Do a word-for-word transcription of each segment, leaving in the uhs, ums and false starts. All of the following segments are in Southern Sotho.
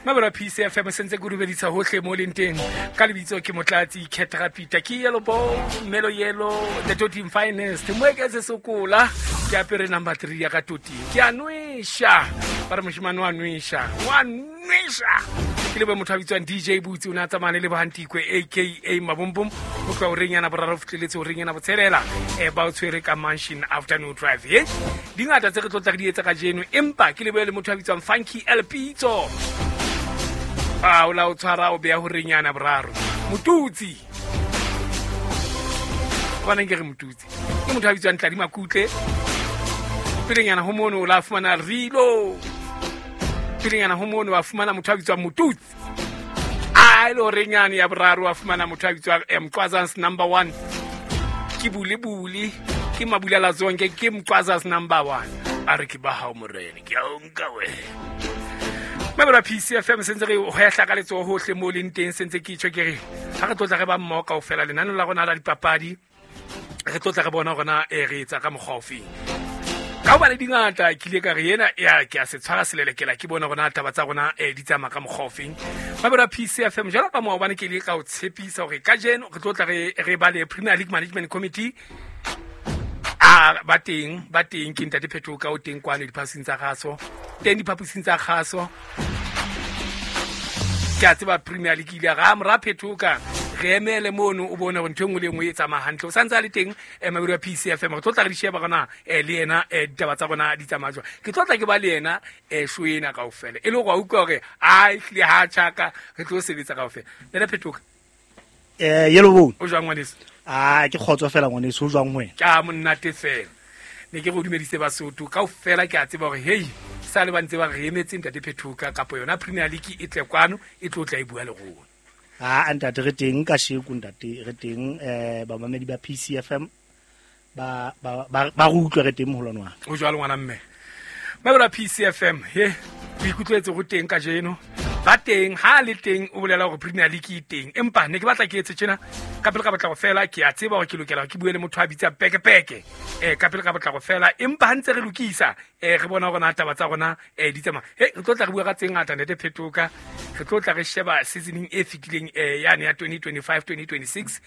Mabelo P C F M sentse ke rubedisa hohle mo leng teng. Ka lebitso ke Motlatsi Ketrapita ke yellow ball, melo yellow, the Totin finest. Moeketse sokola ke apere number three ya ka Totin. Ke a nwesha. Ba re moshemane wa nwesha. Wa nwesha. Ke lebe motho a bitswang D J Butsi o ne a tsamaya le Bohantikwe A K A Mabombom ho tloha horeng yana boraro fihleletse horeng yana botshelela eh ba o tshwere ka Mansion Afternoon Drive. Ye dingata tse re tlo tla re di etsa kajeno, empa ke lebe le motho a bitswang Funky El Pitso. A o la o tshwara o beha horeng yana boraro. Motutsi. Hobaneng ke re Motutsi? Ke motho a bitswang Tladi Makutle. Pelenyana ho mono o la fumana Rilo. Pelenyana ho mono wa fumana motho a bitswang Motutsi. A ile horeng yane ya boraro wa fumana motho a bitswang Mqwazans number one. Ke bule bule, ke Mabulela Zonke, ke Mqwazans number one. A re ke ba hao morena, ke a o nka wena. Mabelo P C F M sentse re hwehla ka letsoho hohle mo leng teng, sentse ke tjho ke re ha re tlotla re ba mmoho kaofela lenaneo la rona la dipapadi, re tlotla re bona rona e re etsa ka mokgwa ofeng. Ka hobane dingata ke ile ka re ena ya ke a se tshwara selelekela ke bona rona taba tsa rona e di tsamaya ka mokgwa ofeng. Mabelo P C F M jwalo ka maobane ke ile ka o tshepisa hore kajeno re tlotla re re ba le Premier League Management Committee. A ba teng, ba teng ke Ntate Phetoka o teng kwano diphapusing tsa kgaso. Teng diphapusing tsa kgaso. Ke a tseba Premier League ile ra mora Phetoka re emele mono o bone hore ntho e nngwe le e nngwe e tsamaya hantle. O santse a le teng mabedi wa P C F M. Re tlo tla re di sheba rona le yena ditaba tsa rona di tsamaya jwang. Ke tlo tla ke ba le yena show ena kaofela. E le hore wa utlwa hore a ehlile ha tjhaka re tlo sebetsa kaofela. Ntate Phetoka. Eh yellow bone. O jwang ngwaneso? Ah ke kgotso fela ngwaneso, o jwang wena? Ke a monate fela. Ne ke go dumedise Basotho kaofela, ke a tseba hore hey sa le ba ntse ba re emetse Ntate Phetoka kapa yona Premier League e tle kwano e tlo tla e bua le rona. Ah ntate re teng ka sheko ntate re teng eh bamamedi ba P C F M ba ba ba re utlwe re teng moholwane wa ka. O jwalo ngwana mme. Mabelo P C F M he o ikutlwetse go teng kajeno. Ba teng ha le teng o bolela hore Premier League e teng, empa ne ke batla ke etse tjena ka pele ka batla go fela. Ke a tseba hore ke lokela ke bue le motho a bitsa peke peke eh ka pele ka batla go fela, empa ha ntse re lokisa eh re bona hore na taba tsa rona eh di tsamaya. He re tlo tla re bua ka tse ngata Ntate Phetoka, re tlo tla re sheba seasoning e fetileng eh yane ya twenty twenty-five twenty twenty-six,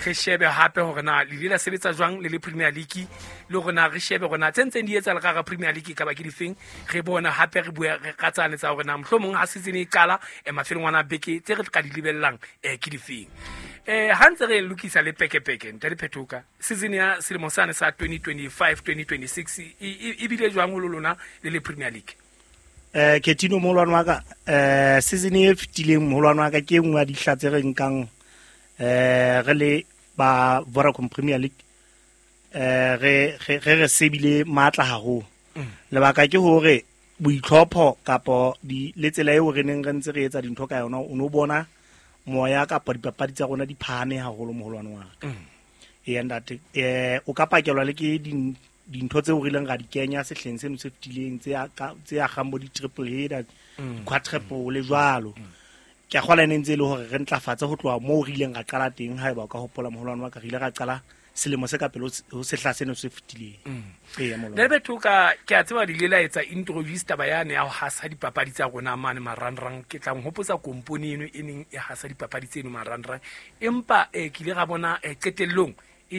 re shebe hape hore na le ile la sebetsa jwang le le Premier League, le hore na re shebe hore na tse ntseng di etsa le ka ga Premier League ka ba ke difeng. Re bona hape re bua re ka tsane tsa hore na mohlomong ha season e qala e mafelong ana beke tse re ka di lebellang eh ke difeng. Eh ha ntse re lokisa le peke peke Ntate Phetoka, season ya selemo sane sa twenty twenty-five twenty twenty-six e bile jwang ho lona le le Premier League? Eh Ketino moholwane wa ka, eh season e fetileng moholwane wa ka ke nngwe ya dihla tse re nkang eh re le ba Vodacom Premier League eh re re re sebile matla haholo. Lebaka ke hore boitlhopho kapo di le tsela eo re neng re ntse re etsa dintho ka yona, o no bona moya kapa dipapadi tsa rona di phahame haholo moholwane wa ka. E ntate eh o ka pakelwa le ke dintho tseo re ileng ra di kenya sehleng seno se fetileng tse tse agang bo di triple header, quadruple le jwalo. Ke a kgola ne ntse e le hore re ntlafatse ho tloha moo re ileng ra qala teng. Haeba o ka hopola moholwane wa ka, re ile ra qala selemo se ka pele ho sehla seno se fetileng. Ee moholwane. Ntate Phetoka, ke a tseba le ile la etsa introduce taba yane ya ho hasa dipapadi tsa rona mane marangrang. Ke tla nhopotsa kompone eno e neng e hasa dipapadi tseno marangrang, empa eh ke ile ra bona qetellong e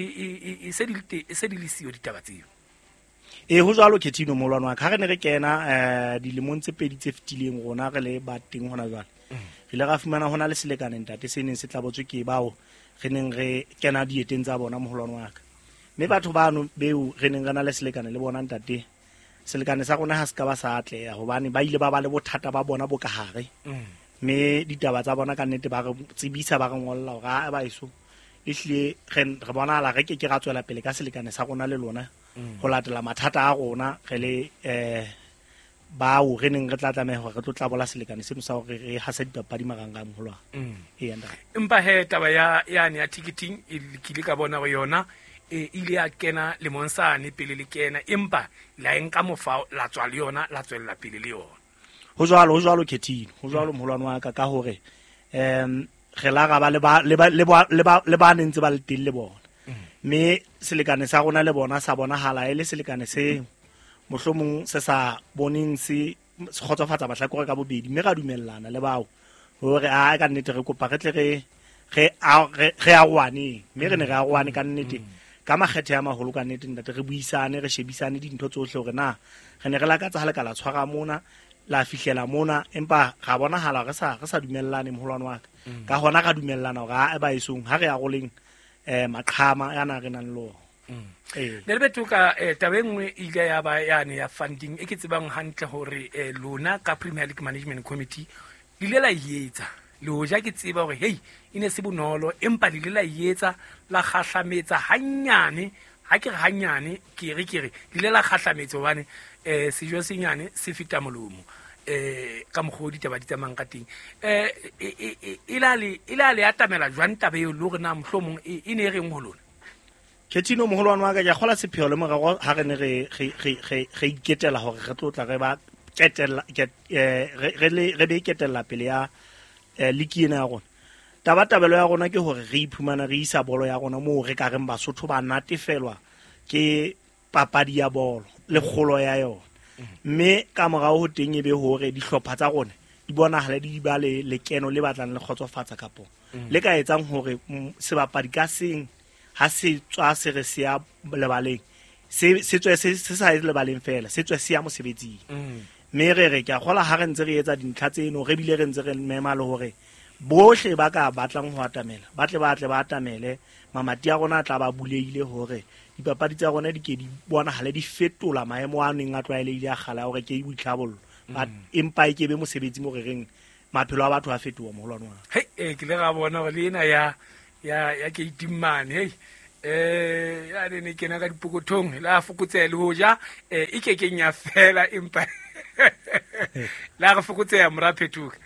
e se di e se di le siyo ditaba tseo. E ho jwalo Ketino moholwane wa ka, ha re ne re kena eh dilemong tse pedi tse fetileng rona re le ba teng hona jwale, re ile ra fumana hona le selekane ntate se neng se tlabotswe ke bao re neng re kena dieteng tsa bona moholwane wa ka. Mme batho bano beo re neng re na le selekane le bona ntate, selekane sa rona ha se ka ba sa atleha hobane ba ile ba ba le bothata ba bona bo ka hare. Mme ditaba tsa bona ka nnete ba re tsebisa, ba re ngolla hore a ba eso ehlile re re bonahala re ke ke ra tswela pele ka selekane sa rona le lona ho latela mathata a rona re le eh bao re neng re tla tlameha hore re tlo tlabola selekane seno sa hore re hasa dipapadi marangrang moholwane. Ee ntate. Empa he taba ya yane ya ticketing e ke ile ka bona hore yona e ile ya kena lemong sane pele le kena, empa la e nka mofao la tswa le yona la tswella pele le yona. Ho jwalo, ho jwalo Ketino, ho jwalo moholwane wa ka, ka hore em re la ra ba le ba le ba le ba le ba neng tse ba le teng le bona. Mme selekane sa rona le bona sa bonahala e le selekane se mohlomong se sa boneng se se kgotsofatsa mahlakore ka bobedi mme ra dumellana le bao hore a ka nnete re kopa re tle re re re aroane mme re ne re aroane ka nnete ka makgethe a maholo ka nnete ntate re buisane re shebisane dintho tsohle hore na re ne re lakatsa ha le ka la tshwara mona la fihlela mona empa ra bonahala re sa re sa dumellane moholwane wa ka ka hona ra dumellana hore a ba esong ha re aroleng eh maqhama yana re nang le eh ne le betoka eh taba e nngwe e ile ya ba yane ya funding e ke tsebang hantle hore eh lona ka Premier League Management Committee le ile la etsa le hoja ke tseba hore hey e ne se bonolo empa le ile la etsa la kgahlametsa hanyane ha ke re hanyane ke re ke re le ile la kgahlametsa hobane eh sejo senyane se feta molomo eh ka mokgwa ditaba di tsamayang ka teng eh e la le e la le atamela jwang taba eo le hore na mohlomong e ne e reng ho lona? Ketino moholwane wa ka ke a kgola sepheo le morero ha re ne re re re re iketela hore re tlo tla re ba ketella re le re be ketella pele ya league ena ya rona. Taba tabelo ya rona ke hore re iphumana re isa bolo ya rona moo re ka reng Basotho ba natefelwa ke papadi ya bolo le kgolo ya yona. Mme ka morao ho teng e be hore dihlopha tsa rona di bonahale di ba le lekeno le batlang le kgotsofatsa kapo le ka etsang hore sebapadi ka seng ha se tswa se re se ya lebaleng se se tswe se se sa lebaleng fela se tswe se ya mosebetsing. Mme re re ke a kgola ha re ntse re etsa dintlha tseno re bile re ntse re mema le hore bohle ba ka batlang ho atamela ba tle ba tle ba atamele mamati a rona a tla ba bulehile hore dipapadi tsa rona di ke di bonahale di fetola maemo a neng a tlwaelehile a kgale a hore ke boitlhabollo empa e ke be mosebetsi mo re reng maphelo a batho a fetoha moholwane wa hei eh ke le ga bona hore le ena ya ya ya ke itimane hei eh ya ne ne kena ka dipokothong la fokotseha le hoja eh e ke keng ya fela empa la re fokotseha mora Phetoka.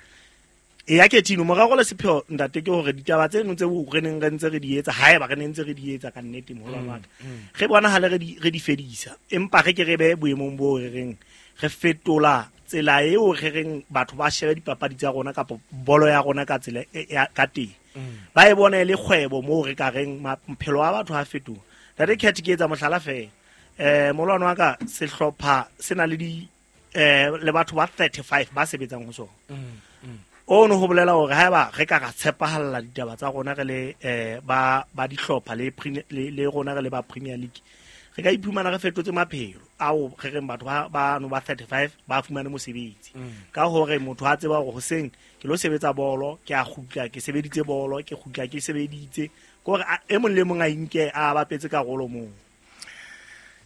E ya Ketino morero le sepheo ntate ke hore ditaba tseno tse re neng re ntse re di etsa haeba re ne ntse re di etsa ka nnete moholwane wa ka re bonahale re di re di fedisa empa re ke re be boemong bo re reng re fetola tsela eo re reng batho ba shebe dipapadi tsa rona kapa bolo ya rona ka tsela ka teng ba e bone le kgwebo moo re ka reng maphelo a batho a fetoha. Ntate Cat ke etsa mohlala fela eh moholwane wa ka sehlopha se na le di eh le batho ba thirty-five ba sebetsang ho sona. O no ho bolela hore haeba re ka ra tshepahalla ditaba tsa rona re le eh ba ba dihlopha le le rona re le ba Premier League re ka iphumana re fetotse maphelo ao re reng batho ba ba no ba thirty-five ba fumane mosebetsi ka hore motho a tseba hore hoseng ke lo sebetsa bolo ke a kgutla ke sebeditse bolo ke kgutla ke sebeditse ke hore e mong le mong a inke a bapetse karolo moo.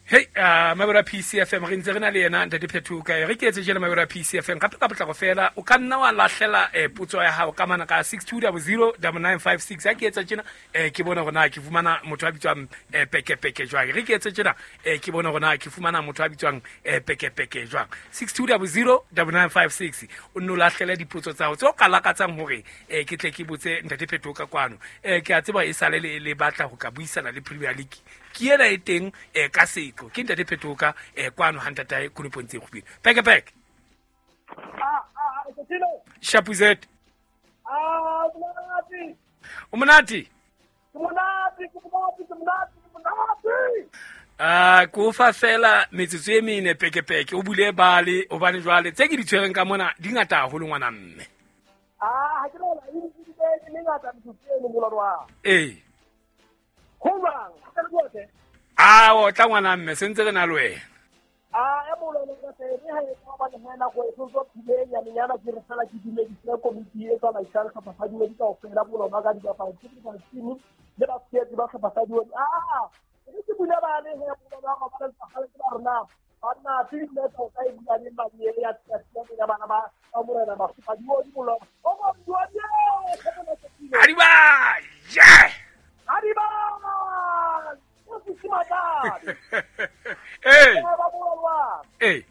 Hey uh mabura P C F M re ntse re na le yena ntate Phetoka re ke etse jela mabura P C F M ka ka potlako fela o ka nna wa lahlela eh potso ya hao ka mana ka six two zero zero nine nine five six ha ke etsa tjena eh ke bona hore na ke fumana motho a bitswang eh peke peke jwang re ke etse tjena eh ke bona hore na ke fumana motho a bitswang eh peke peke jwang six two zero zero nine nine five six o nno lahlela dipotso tsa hao tse o ka lakatsang hore eh ke tle ke botse ntate Phetoka kwano eh ke a tseba e sale le le batla ho ka buisana le Premier League ke ena e teng eh ka seko ke ntate Phetoka eh kwano ha ntatae Konopong tse kgubile peke peke ah ah Ketino Shapuzet ah monate o monate monate monate monate monate ah ko fa fela metsotso e mene peke peke o bule bale o bane jwale tse ke di tshwereng ka mona di ngata haholo ngwana mme ah ha ke no la e di di ngata metsotso eno molwana wa eh ho jwang ka le botle ah o tla ngwana mme sentse re na le wena ah e molwana ka se re ha e ka ba le hena go e tso phile ya menyana ke re fela ke dumedise komiti e tsamaisang sehlopha sa Diodi kaofela bolona ka dibapadi tse di team le ba tshehetsi ba sehlopha sa Diodi ah re ke bula ba le he bolona ga ba le tsagale ke ba rona banna tse di le tota e bula le madi e ya tsatsi ya bana ba ba morena ba supa Diodi bolona o mo Diodi Adiba yeah Adiba eh eh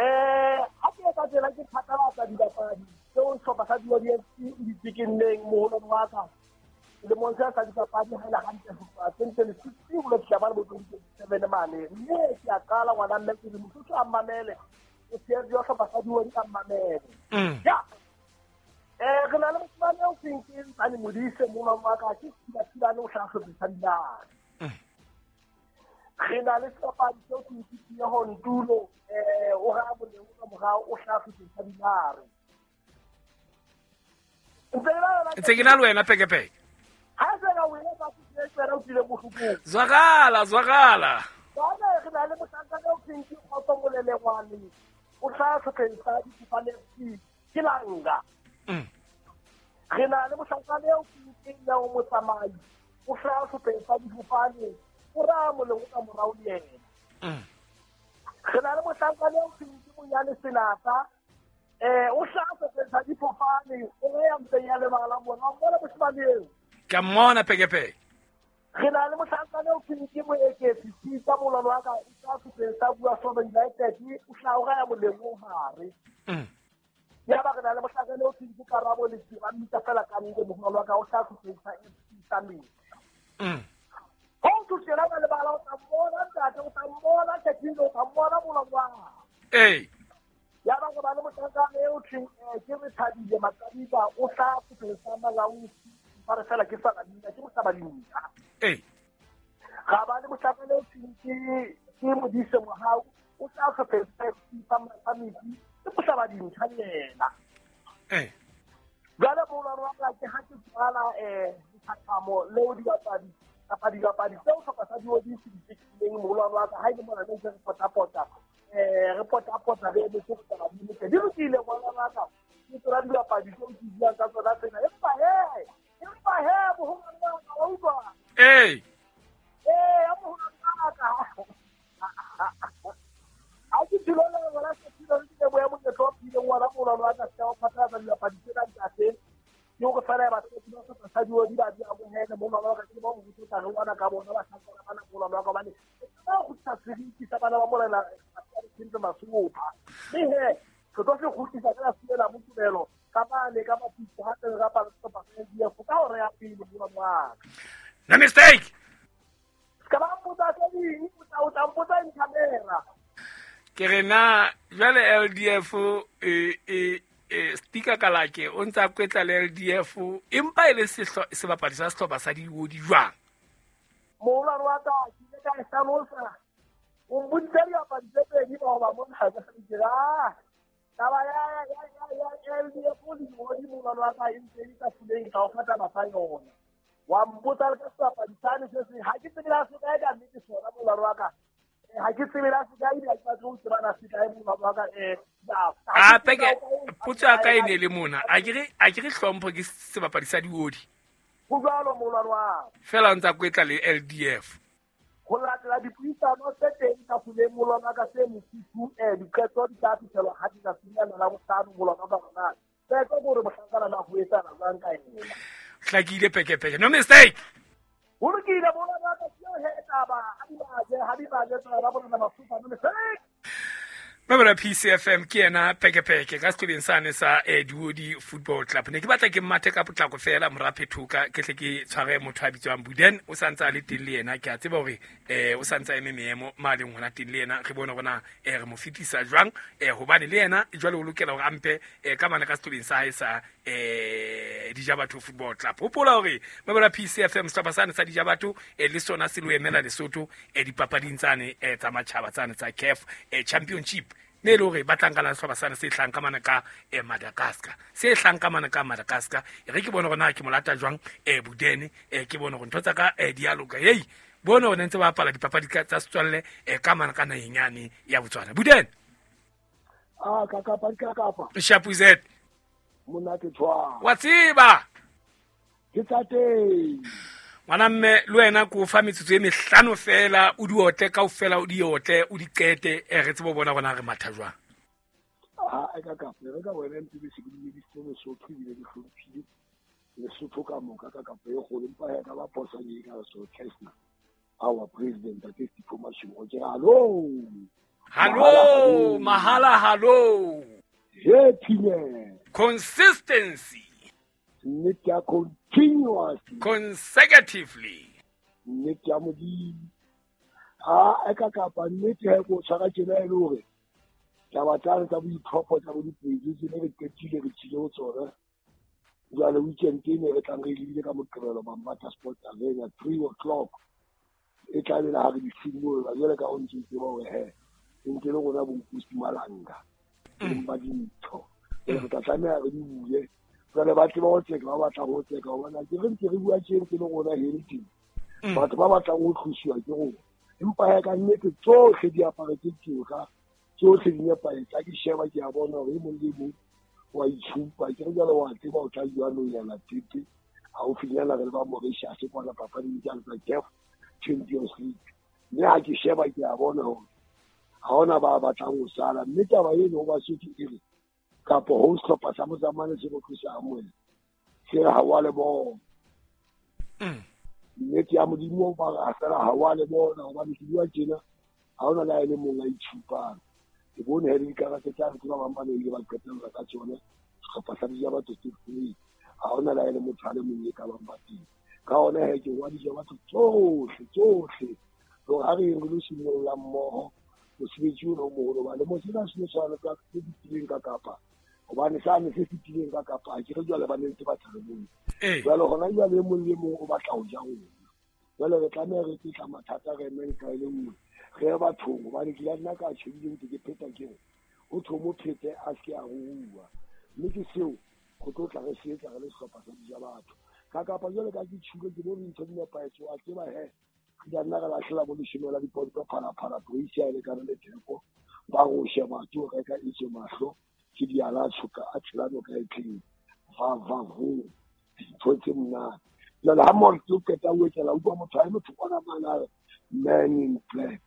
eh ha ke ka tsela ke phatlalatsa dibapadi tseo sehlopha sa Diodi F C di tsekenneng moholong wa ka lemong sa sa dipapadi ha e le hantle ho tloha twenty twenty-six ho lo fihla mane bo twenty twenty-seven mane mme ke a qala ngwana mme ke re mosotho a mmamele o tshehetsi wa sehlopha sa Diodi a mmamele ya eh re na le mosimane eo seng ke Ntsane Modise moholong wa ka ke thibathibane o hlaha sehlopheng sa Dinare. Re na le sebapadi seo ke Tieho Ntulo, eh o ra moleng ka morao o hlaha sehlopheng sa Dinare. Ntse ke na le wena Pekepeke. Ha se ka o etsa se tsena o tlile bohlokong. Zwakala, zwakala. Bana re na le mohlankana o thweng ke Kgotso Molelengwane. O hlaha sehlopheng sa Difofane F C ke Langa. Mm. Re na le mohlankana o thweng ke Neo Motsamai. O hlaha sehlopheng sa Difofane. O ra moleng ka morao le yena. Mm. Re na le mohlankana o thweng ke Monyane Senata. Eh o hlaha sehlopheng sa Difofane, o ya mtseng ya lebala mona, o bona moshemane eo. Ke mmona Pekepeke. Re na le mohlankana o thweng ke Moeketsi Sita molwano wa ka, o hlaha sehlopheng sa Bua Soba United, o hlaha o raya moleng o hare. Mm. Ya ba re na le mohlankana o thweng ke Karabo Letsie, ba mmitsa fela ka ntle molwano wa ka, o hlaha sehlopheng sa F C sa Metsi. Mm. Ho tshela ba lebala o tla mmona ntate, o tla mmona Khethindo, o tla mmona molwano wa ka. Ee. Ya ba re ba le mohlankana eo thweng ke re Thabile Makadiba, o hlaha sehlopheng sa Malawi, ba re fela ke sa Lamina, ke mohlaba dintlha. Ee. Ga ba le mohlankana eo thweng ke ke Modise Mohau, o hlaha sehlopheng sa F C sa Metsi, ke mohlaba dintlha le yena. Ee. Jwale molwano wa ka ke ha ke tswala eh lethathamo leo dibapadi kapa dibapadi tseo sehlopha sa Diodi se di tekileng molwano wa ka, ha e le mona ne ntse re potapota eh re potapota re emetse ho taba di loke. Di lokile molwano wa ka, ke tsona dibapadi tseo ke buang ka tsona tsena. Empa he, empa he boholo ba ka wa utlwa. Ee. Ee, ya boholo ba ka. Ha ke thilo le bona se thilo le ke boya monyetla wa phileng wa molwano wa ka se wa phatlalatsa dibapadi tsena ntate. Ke hore fela ba se ba sa sa Diodi ba di amohele molwano wa ka, ke ba ho tla re ngwana ka bona ba hlankana bana molwano wa ka bane. Ba go tsa seriti sa bana ba morena Tshintse Masopha. Mme he, re tlo se kgutlisa ka la Mokubelo ka bane ka mapitso ha teng ra pala sehlopha sa L D F ka hora ya pele molwano wa ka. No mistake. Ska ba mpotsa tse ding, o tla o tla mpotsa in camera. Ke re na jwale L D F e e e Stika Kalake o ntsa kwetla le L D F empa e le sebapadi sa sehlopha sa Diodi jwang? Molwano wa ka ke ile ka e hlalosa. O mboditse dibapadi tse pedi ba hoba mona ha ke re taba ya ya ya ya L D F le Diodi molwano wa ka e ntse e ka fuleng ka o fa taba sa yona. Wa mpotsa le ka sebapadi sane se seng, ha ke tsebe la se kae ka nnete sona molwano wa ka. Ha ke tsebe la se kae, ebile ha ke batle ho tsebana se kae molwano wa ka. Eh a peke potso ya ka e ne le mona, a ke re a ke re hlompho ke sebapadi sa Diodi. Ho jwalo molwano wa ka. Fela o ntsa kwetla le L D F. Ho latela dipuisano tse teng ka fuleng molwano wa ka tse mofuthu, eh diqeto di tla fihlelwa ha di ka finyana la bohlano molwano wa ka rona. Qeto ke hore mohlankana na ho etsana jwang ka yena. Hlakile Pekepeke. No mistake. Ho lokile molwano wa ka, ke eo he taba, ha di baje, ha di baje tsela ba bona Masopha, no mistake. Mabra P C F M ke yena Pekepeke ka sehlobeng sane sa eh, Diodi Football Club. Ne ke batla ke mmathe ka potlako fela mora Phethoka, ke tle ke tshware motho a bitswang Buden, o santse a le teng le yena. Ke a tseba hore eh o santse a eme meemo ma leng hona teng le yena, re bone hore na eh re mo fetisa jwang eh hobane le yena jwale o lokela hore a mpe eh ka mane ka sehlobeng sa hae sa eh Dijabatho Football Club. Hopola hore Mabra P C F M sehlopha sane sa Dijabatho eh le sona se lo emela Lesotho eh dipapading tsane eh tsa matjhaba tsane tsa C A F eh Championship. Me le hore ba tlang ka la sehlopha sane se hlang ka mane ka eh, Madagascar, se hlang ka mane ka Madagascar. E re ke bone hore na ke molata jwang eh Budene, eh ke bone hore ntho tsa ka eh di a loka. Hey, bone hore ntse ba bapala dipapadi tsa setswalle eh ka mane ka naheng yane ya Botswana. Budene. Ah ka kapa ka kapa. Shapuzet. Monate tshwa. Wa tseba. Ke tsa teng. Ngwana mme le wena ko fa metsotso e mehlano fela o di otle kaofela, o di otle o di qete, eh re tsebe ho bona rona re matha jwang. Ah e ka kapa re ka wena ntse be se ke dumedisitse Lesotho ebile ke hlomphile Lesotho ka moka ka kapa e kgolo, empa ya ka ba phosa ke ka so Krishna our president Ntate Sipho Mashego ke hallo hallo mahala hallo he phile consistency nnete ya continuously consecutively nnete ya Modimo. Ha e ka kapa nnete ha ko tshwara tjena e le hore taba tsa tsa boitlhopho tsa bo dipedi tse re qetile re tshile ho tsona. Jwale weekend e ne re tlang re lebile ka Moqebelo Bambata Sport Arena three o'clock. E tla be la re di simolola jwale ka o ntse tseba hore he ntse le rona bo Nkosi Malanga ba dintho re tla tlameha re di bule jwale ba tseba ho tseka ba batla ho tseka hobane ke re ntse re bua tje ntse le rona Hilton batho ba batlang ho tlosiwa ke rona empa ya ka nnete tsohle di apare tse tsoka tsohle di nepahetse ha ke sheba ke a bona hore e mong le mong wa itshupa ke re jwale wa tseba o tla jwalo yana tete haufinyana re le ba Mauritius kwana papading tsa CAF Champions League mme ha ke sheba ke a bona hore ha hona ba batlang ho sala mme taba eno ho Basotho e re kapo ho sehlopha sa Mozamane se go tlosa Amoela se re ha wa le bona nnete ya Modimo ba re fela ha wa le bona hobane ke bua tjena ha hona le a le mong a itshupang ke bone he dikarate tsa re ba bang ba ne ile ba qetella ka tsone sehlopha sa Dija Batho se free ha hona le a le motho a le mong e ka bang ba teng ka hona he ke wa Dija Batho tsohle tsohle hore ha re re lo simolola mmoho mosebetsi ona o moholo hobane mo sena se tshwana ka se fetileng ka Kapa hobane sane se fetileng ka Kapa ke re jwale ba ne ntse ba thabile jwale hona jwale e mong le mong o batla ho ja rona jwale re tlameha re tla mathata re emeng ka e le nngwe re ye bathong hobane ke la nna ka tjhebile ntse ke pheta ke re o thomo phete a se ke a rua mme ke seo go tlo tla re se etsa re le sehlopha sa Dija Batho ka Kapa jwale ka ke tjhulo ke bone ntho di nepahetse wa tseba he ke nna re lahlela bo leshome la diponto phalaphala Croatia e lekana le theko ba go sheba ke o reka itse mahlo ke di ala tshoka a tshela noka e tleng va va vo dintho tse monate jwale ha motho o qeta o etela utlwa motho a eme thokwana mane man in black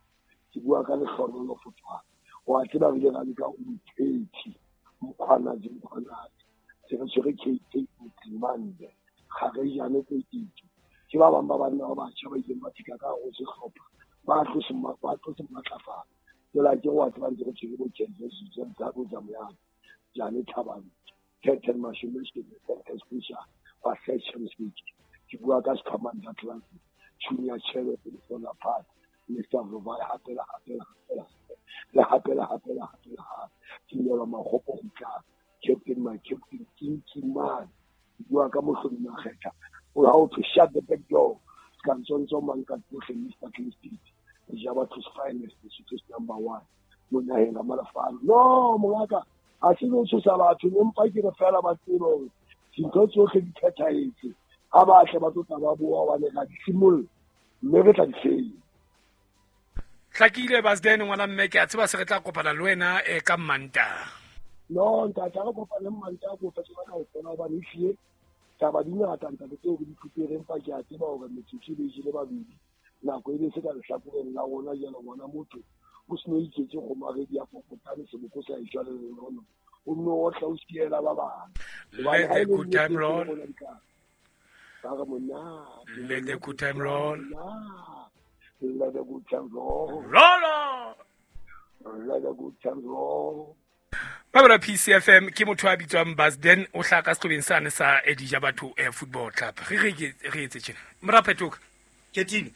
ke bua ka lehlohonolo Fotwane wa tseba re ile ra leka Umthethi Mkhwanazi Mkhwanazi se re tshwere K K Mtsimande ga re jane Kwetitso ke ba bang ba banna ba batjha ba ileng ba fihla ka hare ho sehlopha ba tlo se ba tlo se matlafala jwale ke wa tseba ntse re tshwere bo Kenzo Zabo Zamyana Jane Thabane Captain Mashome Captain Spisha ba Champions League ke bua ka Skhwamandla Atlantic Junior Chebe Sona Park Mister Vovai hape le hape le le hape le hape le hape le hape ke nyela Makgopo go tla Captain my Captain Kinki man ke bua ka Mohlodi Makgetha o ha o to shut the back door ka ntsontsho mang ka tsohle Mister Clean Street Dija Batho's finest Lesotho's number one mo naheng ka malafalo no mongaka ha se no tshosa batho empa ke re fela ba tsebe hore dintho tsohle di phethahetse ha ba tle ba tlo tla ba boa hobane ra di simolla mme re tla di fenya. Hlakile Basden ngwana mme ke a tseba se re tla kopana le wena e ka Mantaha. No ntate re kopane Mantaha ko fetsa ka kaofela hobane ehlile taba di ngata ntate tseo re di fupereng empa ke a tseba hore metsotso e be jele babedi nako e be se ka lehlakoreng la rona jalo bona motho o se no iketse kgomaredi ya popotane seboko sa e jwale le lona o nno o tla o siela ba bang. Let the good time roll. Ba re monate. Let the good time roll. Let the good time roll. Roll on. Let the good time roll. Babela P C F M ke motho a bitswang Basden o hlaka sehlobeng sane sa Dija Batho Football Club. Re re re etse tjena. Mora Phetoka. Ketini.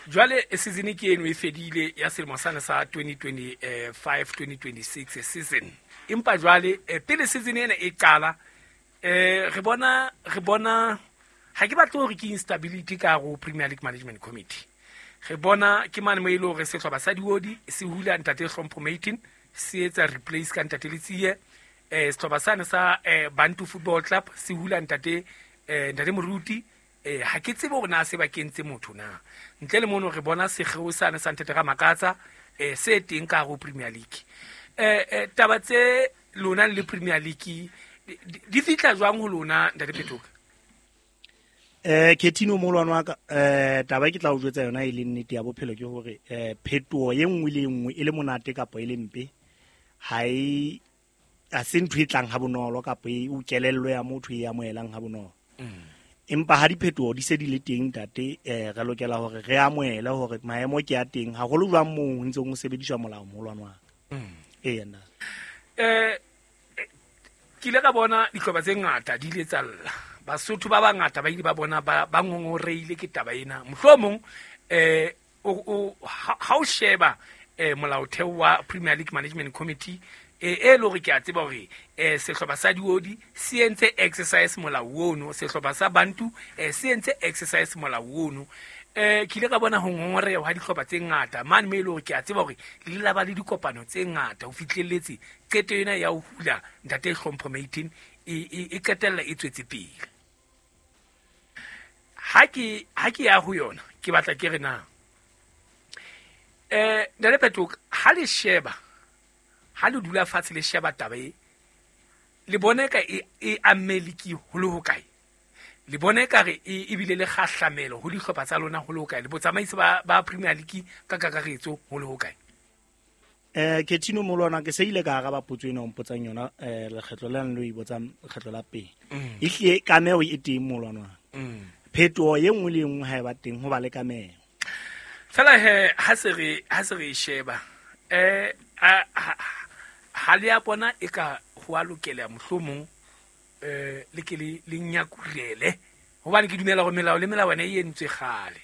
Jwale season ke eno e fedile ya selemo sane sa twenty twenty-five twenty twenty-six season. Empa jwale pele season ena e qala eh re bona re bona ha ke batle hore ke instability ka go Premier League Management Committee. Re bona ke mane mo ile hore sehlopha sa Diodi se hula ntate Hlompho Matin se etsa replace ka ntate Letsie eh sehlopha sane sa Bantu Football Club se hula ntate eh ntate Moruti eh ha ke tsebe hore na se ba kentse motho na ntle le mono re bona segeo sane sa ntate Ramakatsa eh se teng ka go Premier League eh eh taba tse lona le Premier League di fitla jwang ho lona ntate Phetoka? Eh Ketino molwana wa ka eh taba ke tla o jwetsa yona e le nnete ya bophelo ke hore eh phetoho e nngwe le nngwe e le monate kapa e le mpe ha e a se ntho e tlang ha bonolo kapa e o kelello ya motho e amohelang ha bonolo. Empa ha diphetoho di se di le teng ntate eh re lokela hore re amohele hore maemo ke a teng haholo jwang moo ho ntseng ho sebediswa molao molwana wa ka. Ee nna eh ke ile ka bona dihlopha tse ngata di ile tsa lla Basotho ba bangata ba ile ba bona ba ba ngongoreile ke taba ena mohlomong eh o ha o sheba eh molaotheo wa Premier League Management Committee e e le hore ke a tseba hore eh sehlopha sa Diodi se entse exercise molao ono sehlopha sa Bantu eh se entse exercise molao ono Eh ke ile ka bona ho ngongoreha ha dihlopha tse ngata mane me e le hore ke a tseba hore le ile la ba le dikopano tse ngata ho fihlelletse qeto ena ya ho hula ntate Hlompho Maitin e e e qetella e tswetse pele. Ha ke ha ke ya ho yona ke batla ke re na eh ntate Phetoka, ha le sheba, ha le dula fatshe le sheba taba e, le bone ka e e amme league ho le hokae? Le bone ka re e ebile le kgahlamelo ho dihlopha tsa lona ho le hokae? Le botsamaisi ba ba Premier League ka kakaretso ho le hokae? Eh Ketino molwana, ke se ile ka araba potso ena o mpotsang yona eh lekgetlo le lo e botsang lekgetlo la pele. Mm. Ehlile kameho e teng molwana. Mm. Phetoho e nngwe le e nngwe ha e ba teng ho ba le kameho. Fela he ha se re ha se re e sheba eh ha ha le a bona e ka ho a lokela mohlomong eh le ke le le nyakurele, hobane ke dumela hore melao le melawana e entswe kgale.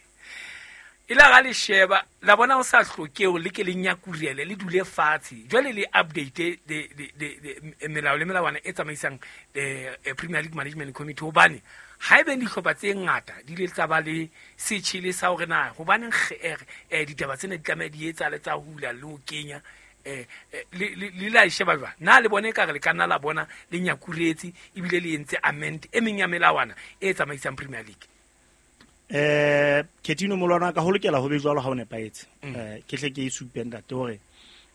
E la ga le sheba la bona ho sa hloke hore le ke le nyakurele, le dule fatshe jwale le update de de de melao le melawana e tsamaisang eh Premier League Management Committee, hobane ha ebe dihlopha tse ngata di ile tsa ba le setjhele sa hore na hobaneng eh ditaba tsena di tlameha di etsahale tsa hula le ho kenya eh le le la sheba jwang? Na le bone ekare le ka nna la bona le nyakuretse ebile le entse amend e meng ya melawana e tsamaisang Premier League? Eh Ketino molwana, ka ho lokela ho be jwalo ha o nepahetse. Mm. Eh ke hle ke e supe ntate hore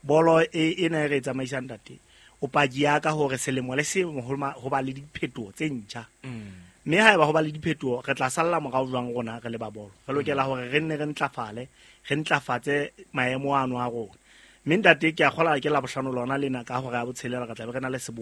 bolo e ena e re e tsamaisang ntate, o paki ya ka hore selemo le selemo ho ma-, ho ba le diphetoho tse ntjha. Mm. Mme haeba ho ba le diphetoho re tla salla morao jwang rona re le ba bolo? Re lokela hore re nne re ntlafale, re ntlafatse maemo ano a rona. Mme ntate ke a kgola ke la bohlano lona lena ka hora ya botshelela re tla be re na le seboka.